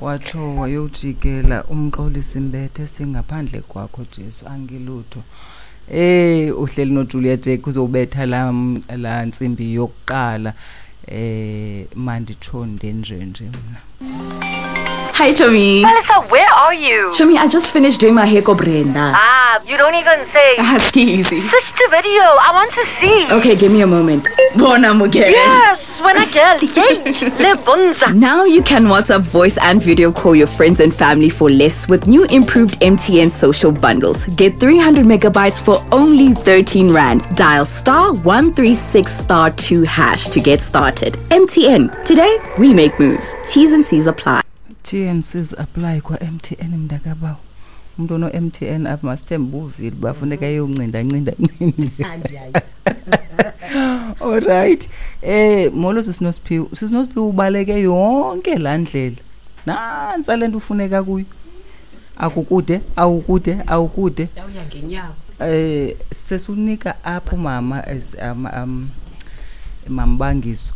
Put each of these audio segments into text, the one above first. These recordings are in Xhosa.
Watsho wayojikela uMxolisi Mbethe, singaphandle kwakho Jesu angilutho. Uhleli noJulia Jack uzobetha la ntsimbi yokuqala. Manditsho ndenjenje mna. Hi, Chomi. Palisa, where are you? Chomi, I just finished doing my hair ko Brenda. Ah, you don't even say. Easy. Switch to video. I want to see. Okay, give me a moment. Bona Mugere. Yes, when I girl. Yay. Le bonza. Now you can WhatsApp voice and video call your friends and family for less with new improved MTN social bundles. Get 300 megabytes for only 13 Rand. Dial star 136 star 2 hash to get started. MTN. Today, we make moves. T's and C's apply. T&Cs apply kwa MTN mntakabawo. Umuntu ono MTN apha masithembe uvile bafuneka eyoncinda ncinda ncinda. All right. Molo sisiNosiphiwe. SisinoSiphiwe ubaleke yonke la ndlela. Nantsa le nto ufuneka kuyo. Akukude, awukude, awukude. Yawuya ngenyawo. Sesunika apho mama as mambangiso.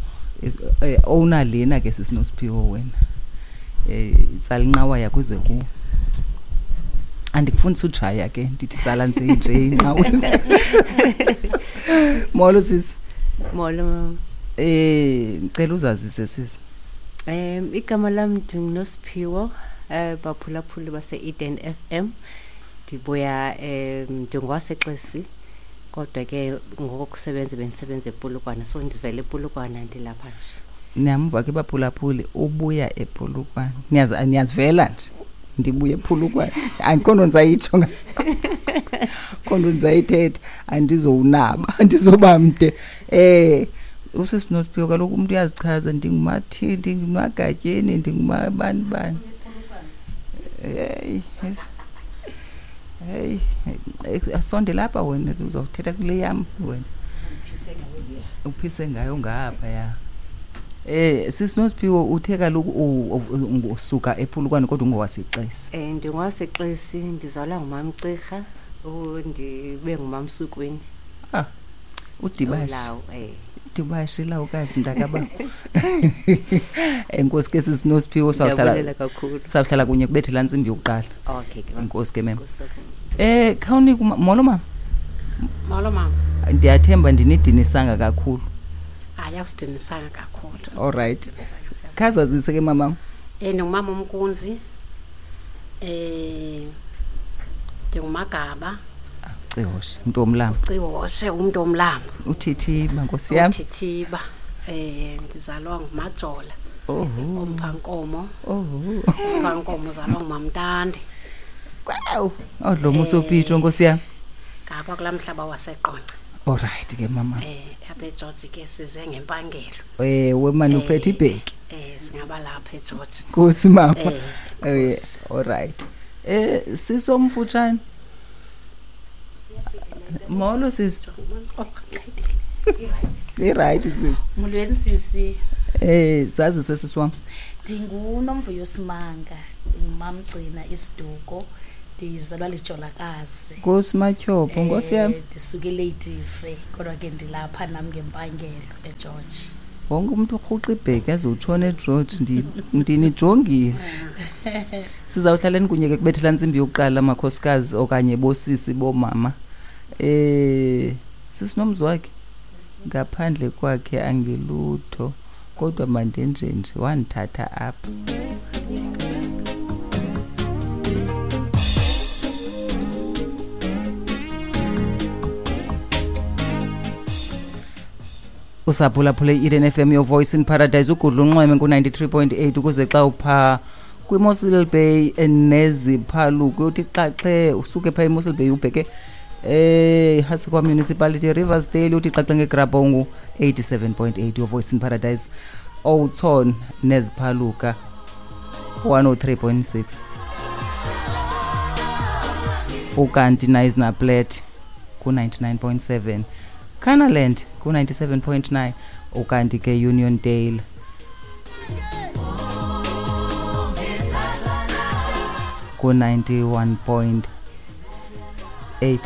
Owner lena ke sisiNosiphiwe wena. Tsala inqawa yakho uze kuwo. Andikufundisi ujaya ke, ndithi tsala nje nje inqawa. Molo sisi. Molo mama. Ngicela uzazise sisi. Igama lam ndinguNosiphiwo, baphulaphuli base Eden FM. Ndibuya ndingwaseXesi, kodwa ke ngokusebenza bendisebenza ePolokwane, so ndivele ePolokwane ndilapha nje. Niyamva ke baphulaphuli, ubuya ePolokwane. Niyazivela nje. Ndibuye ePolokwane. Andikho nto ndisayitsho nga. Akho nto ndisayithetha, andizowunaba, andizoba mde. Usisi Nosiphiwe kaloku umntu uyazichaza, ndingumathi, ndingumagatyeni, ndingumabani bani. Hey, hey, asondela apha wena, uzawuthetha kule yam wena. Uphise ngayo ngapha ya. Sisi Nosiphiwe uthe kaloku usuka ePolokwane kodwa ungowaseXesi. NdingowaseXesi, ndizalwa ngumamCirha, ndibe ngumamSukwini. Udibashe. Ulawo, Udibashe lawukazi mntakababa. Enkosi ke sisi Nosiphiwe, Ndiyabulela kakhulu. sawuhlala kunye kubethe laa ntsimbi yokuqala. Okay, ke mama. Enkosi ke mama. Enkosi kakhulu. Khawunike molo mama. Molo mama. Ndiyathemba ndinidinisanga kakhulu. Hayi, awusidinisanga kakhulu. All right. Khazazise ke mama. Ndingumama uMkunzi. Ndingumagaba. Cihoshe, umntu womlambo. Cihoshe, umntu womlambo. Uthithiba, nkosi yam. Uthithiba. Ndizalwa nguMajola. Oho. Omphankomo. Oho. Omphankomo uzalwa nguMamntande. Kwaw. Odlomo usopitho, nkosi yam. Ngapha kulaa mhlaba waseQonce. All right ke mama. Apha eGeorge ke size ngempangelo. Ewe mani, uphethe ibheki. Singaba lapha eGeorge. Nkosi mama. Nkosi. All right. Sisomfutshane. Molo sisi. I-right sisi. Molweni sisi. Sazi sisi wam. NdinguNomvuyo Simanga, ngumamgcina isiduko, ndizalwa liJolakazi. Nkosi Matyhopho, nkosi yam. Ndisuke eLady Frere, kodwa ke ndilapha nam ngempangelo eGeorge. Wonke umntu urhuqa ibheki azotshona eGeorge, ndinijongile. Sizawuhlaleni kunye ke kubethela ntsimbi yokuqala makhosikazi okanye bosisi bomama. Sisi nomzi wakhe ngaphandle kwakhe angilutho, kodwa mandenjenje wandithatha apha. Usaphulaphule i-Eden FM, your voice in paradise, ugudla unxweme ku-93.8 ukuze xa upha kwiMossel Bay neziphaluko uthi xaxe usuke pha eMossel Bay ubheke Hasekwa Municipality Riversdale uthi xaxe ngeGrabongo 87.8, your voice in paradise, Oudtshoorn neziphaluka 103.6, ukanti Knysna ku-99.7, Canaland ku-97.9, ukanti ke Uniondale ku-91.8.